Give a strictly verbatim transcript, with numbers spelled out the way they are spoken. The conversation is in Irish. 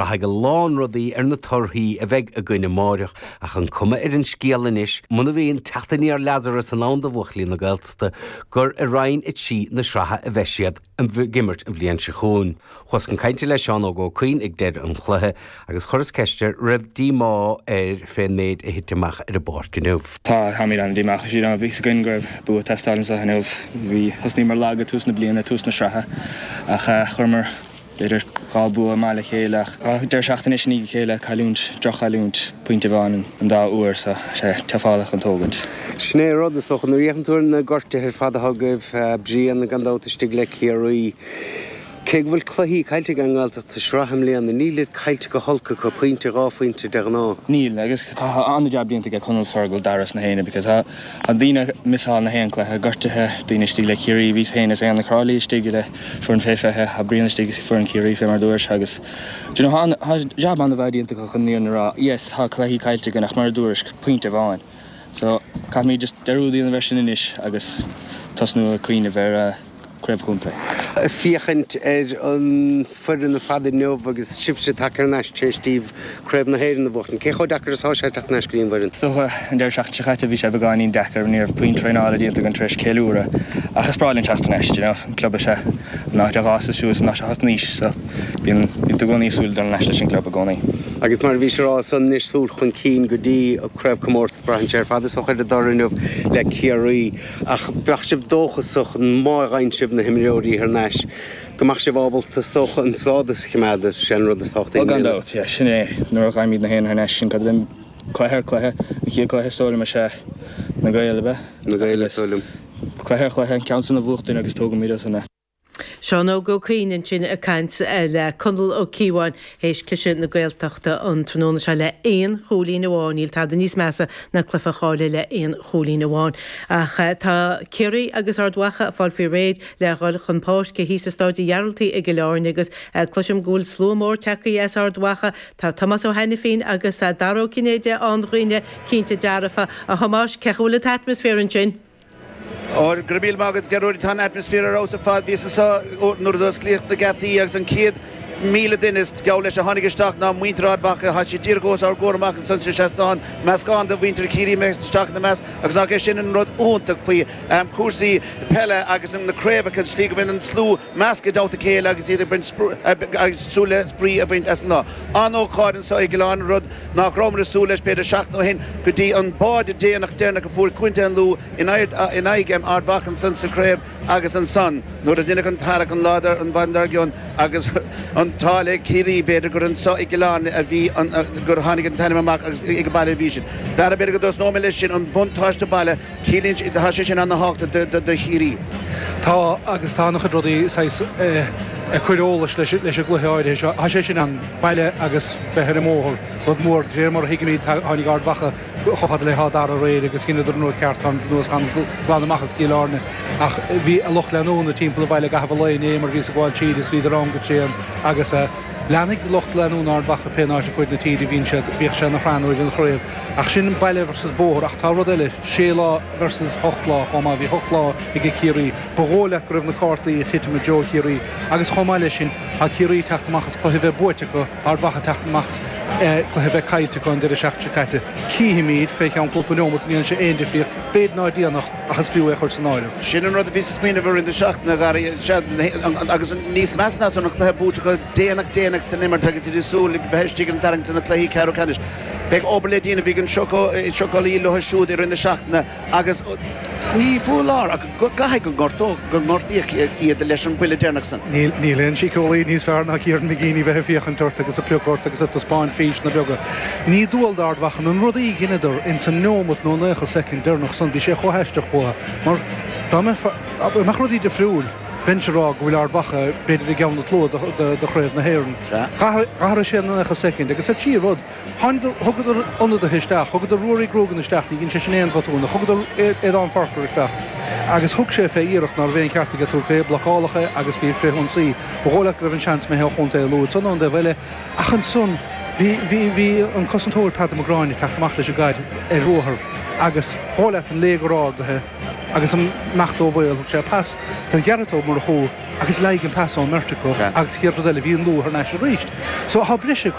Braithfidh a lán rudaí ar na torthaí a bheidh againn amárach ach an cuma ar an scéal anois muna mbíonn teacht aniar Lazarus in ann do bhuachaillí na Gaeltachta gur i Roinn a trí na sraithe a bheidh siad ag imirt an bhliain seo chugainn. Chuas chun cainte le Seán Óg Ó Cuinn ag deireadh an chluiche agus chuireas ceist air raibh díomá air fén méid a thit amach ar an bpáirc inniu. Tá táimid an-díomách you know, bhí a fhios againn go raibh bua ag teastáil anseo inniu bhí thosnaíomar lag ag tús na bliana tús na sraithe ach uh, chuireamar b'fhéidir dhá bua maith le chéile ach deireadh seachtaine i ndiaidh a chéile cailliúint droch-chailliúint pointe amháin an dá uair so sé teafálach an tógaint. Sin é rud is dócha nuair a fhéachann tú ar na gortuithe ar fad atá agaibh Brian gan dabht istigh le Ciarraí. Cé go bhfuil cluichí caillte ag an nGaeltacht sa sraith i mbliana, níl iad caillte go holc acu pointe dhá phointe de ghnáth. Níl agus tá an-jab déanta ag Conall Fergal Dara na héine because tá an daoine missáil na haon cluiche gortuithe daoine istigh le Ciarraí bhí féin is aon na crálaí istigh le foireann fé fiche a Brian istigh foireann Ciarraí fé mar dúirt agus you know, tá jab an-mhaith déanta chun ní rá yes tá cluichí caillte againn ach mar dúirt pointe amháin. So caithfimid just dearúd a dhéanamh air sin anois agus tosnú ag cuimhneamh ar uh, craobh chontae. Féachaint ar an foireann ar fad inniu agus sibhse tagtha ar ais tar éis daoibh craobh na hÉireann a bhuachan. Cé chomh deacair is atá sé teacht ar ais go dtí an bhfoireann? So an deireadh seachtaine seo caite bhí sé beagáinín deacair ní raibh puinn traenála déanta againn tar éis ceiliúradh ach is breá linn teacht ar ais, you know, an club is ea an áit a d'fhás suas an áit a thosnaís so bíonn bíonn tú i gcónaí súil dul ar ais leis an gclub i gcónaí. Agus mar a bhí sé rá san anois súil chun cinn go dtí craobhchomórtas braitheann sé ar fad is dócha ar an dtoradh inniu le Ciarraí ach bheadh sibh dóchasach má fhaigheann sibh na himreoirí thar n-ais go mbeadh sibh ábalta socha an stádas a choimeád sin rud is tábhachtaí. Ó gan dabht, yeah, sin é nuair a fhaighimid na haon thar n-ais sin cad a cluiche ar cluiche an chéad cluiche is dóigh liom is ea na Gaeil be Na Gaeil is dóigh liom. Cluiche ar chluiche an ceann san a bhuachtain agus tógaimid as an Seán Óg Ó Cuinn ansin ag caint le Conall Ó Cíobháin théis cliseadh na Gaeltachta an tráthnóna seo le aon chúilín amháin, níl tada níos measa ná cluiche a chailleadh le aon chúilín amháin. Ach tá Ciarraí agus Ard Mhacha ag fáil faoi réir le dhul chun páirce thíos i Staid Ghearaltaigh i gCill Airne agus cloisim go bhfuil slua mór tagtha as Ard Mhacha Tá Tomás Ó hAiniféin agus Dara Ó Cinnéide an-dhaoine cinnte dearfa a Thomáis cén chaoi bhfuil an t-atmaisféar ansin. Ó go raibh míle maith agat Gearóid tá an atmaisféar ar fheabhas ar fad bhíos anseo nuair a d'osclaíodh na geataí agus an chéad míle duine geall leis a tháinig isteach ná muintir Ard Mhacha tá siad díreach os ár gcomhair amach ansan sa seastán meascán de mhuintir Chiarraí isteach ina measc agus ach é sin an rud iontach faoi um, cúrsaí peile agus na craobhacha slí go bhfuil an slua measctha i dteannta a chéile agus iad ag baint agus súil le spraoi a bhaint as an lá. An-ócáid anseo i gCill Airne rud nach rabhamar ag súil leis b'fhéidir seachtain ó shin go dtí an báide déanach deireanach a fuair Contae an Lú in aghaidh Ard Mhacha ansan sa chraobh agus ansan nuair a deineadh an tarrac an lá an mhaidin dár gcionn agus an t-ádh le Ciarraí b'fhéidir gur anseo i gCill Airne a bhí gur tháinig an t-ainm amach agus ag baile a bhí sin. Dara b'fhéidir go dtosnóidh mé leis sin an buntáiste baile ciallaíonn tá sé sin an-tábhachtach do Chiarraí. Tá agus tá an-chuid rudaí ag cur eolais leis leis an gcluiche áirithe seo. Tá sé sin an baile agus bheith ar an mbóthar rud mór réir mar a thuigimid tháinig Ard Mhacha chomh fada le hÁth Dara aréir agus dheineadar an rud ceart tá anuas glan amach as Cill Airne ach bhí a lucht leanúna timpeall an bhaile ag caitheamh an lae inné mar bhí ag gabháil tríd is bhíodar ann go tréan agus leanfaidh lucht leanúna Ard Mhacha pé áit ar fud na tíre bhíonn siad bíodh sé ina shraith nó an chraobh ach sin baile versus bóthar ach tá rud eile sé lá versus hocht lá chomh maith bhí hocht lá ag Ciarraí ba dhóigh leat go raibh na cártaí ag titim i dtreo Chiarraí agus chomh maith leis sin tá Ciarraí teacht amach as cluiche bheith buaite acu Ard Mhacha teacht amach cluiche bheith caillte acu an deireadh seachtaine seo caite. Cífimid fé cheann cúpla neomat níl sé aon difríocht b'fhéidir ná déanach ach is fiú é chur san áireamh. Sin an rud a bhí sa smaoineamh ar na seachtaine Gary agus níos measa ná san an cluiche buaite go déanach déanach san imirt agus iad súil bheith istigh an tarraingt na cluichí ceathrú ceannais. Beidh obair le déanamh bhí an siocálaí leo siúd i rith na seachtaine agus ní foláir ach go gcaithfidh go ngortó go ngortaíodh iad leis an buille deireanach san. Níl níl aon síceolaí níos fearr ná Kieran McGeeney bheith ag féachaint ort agus ag piocadh ort agus ag taispeáint físeanna beaga. Ní dual d'Ard Mhacha an rud a dheineadar in san neomat nó naocha soicind deireanach san bhí sé chomh haisteach uathu mar dá mbeadh rudaí difriúil bheinnse rá go bhfuil Ard Mhacha b'fhéidir i gceann na tlua do chraobh na hÉireann. D'athraigh sé na naocha soicind agus ar trí rud thugadar ionadaithe isteach, thugadar Ruairí Grogan isteach, ní dhein sé sin aon bhotún, thugadar Aodán Forker isteach agus thug sé fé iarracht ná raibh aon cheart aige tabhairt fé blocálacha agus bhí frithionsaí. Ba dhóigh leat go raibh an seans imithe ó chontae Lú san ón dtaobh eile ach ansan Bhí bhí bhí an cosantóir Peadar Mac Gráinne teacht amach leis an gcaid ar ruathar agus dhóigh leat an léigear ardaithe agus amach ó bhaol thug sé pas don Ghearóid Ó Murchú agus leig an pas ón mbeirt acu agus chéad rud eile bhí an Lú thar n-ais arís. So tá breise